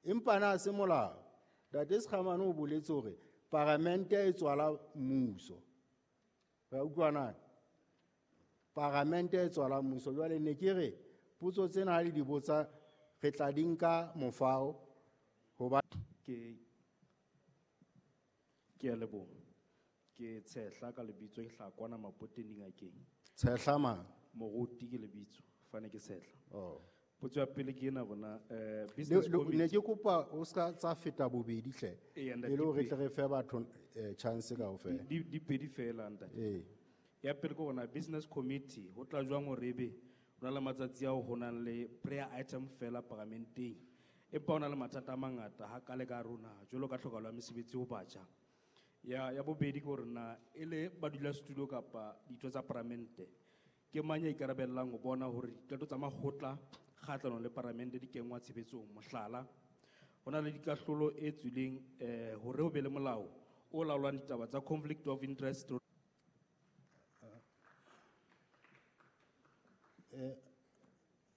Empa na se molao. Ntate Sekhamane o boletse hore paramente e tswala mmuso. Re a utlwa na? Paramente e tswala mmuso. Jwale ne ke re potso tsena ha le di botsa re tla di nka mofao hoba Ke a leboha. Ke Tshehla ka lebitso, ke hlaha kwana Mapoteng dingakeng. Tshehla mang? Moruti ke lebitso, fane ke Tshehla. Oh. Potso ya pele ke ena bona, business Ne committee. ke kopa o ska tsa feta bobedi hle. Eya, ntate, E le hore di tle re fe batho chance kaofela. Di pedi fela, ntate. Ee. Ya pele ke hore business committee ho tla jwang hore ebe ho na le matsatsi ao ho nang le prayer item fela paramenteng. Empa ho na le mathata a mangata ha ka le ka rona jwalo ka tlhokahalo ya mesebetsi ho batjha. Ya bobedi ke hore na e le badulasetulo kapa ditho tsa paramente ke mang ya ikarabellang ho bona hore diqeto tsa makgotla kgahlanong le paramente di kenngwa tshebetsong. Mohlala, ho na le dikahlolo e tswileng hore ho be le molao o laolang ditaba tsa conflict of interest.